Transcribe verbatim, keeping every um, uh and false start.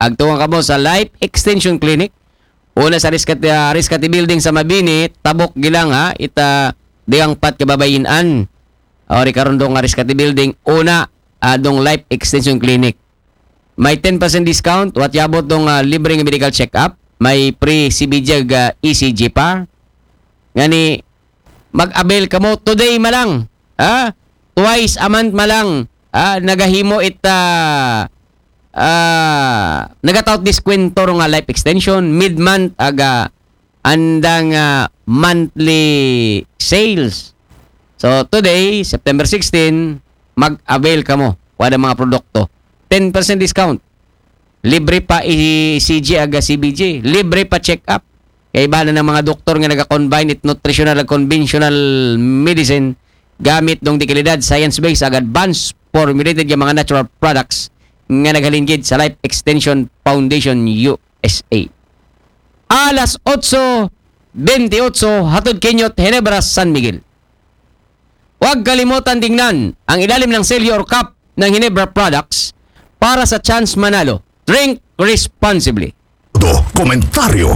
Agtungan kamo sa Life Extension Clinic. Una sa Riscati, ah, Riscati Building sa Mabini, tabok gilang ha, ita digang pat kababayin-an. O, ri karon dong, ah, Riscati Building, una, ah, dong Life Extension Clinic. May ten percent discount, what yabot dong, ah, libre nga medical check-up, may free C B G ag, ah, E C G pa. Ngani, mag-avail kamo today malang. Ha? Twice a month malang. Ha? Nagahimo it, ah, ah, nagataot diskwento nga life extension, mid-month, aga andang, ah, monthly sales. So, today, September sixteen, mag-avail kamo. Wala mga produkto. Ten percent discount. Libre pa E C G aga C B G. Libre pa check-up. Kay iba na ng mga doktor nga nag-combine it nutritional ag conventional medicine gamit dong dekalidad, science-based ag advanced formulated nga mga natural products nga naghalin gid sa Life Extension Foundation U S A. Alas otso bentiocho, hatod kaniyo it Ginebra San Miguel. Huwag kalimutan tingnan ang ilalim ng selyo or cap ng Ginebra products para sa chance manalo. Drink responsibly. Todo komentaryo.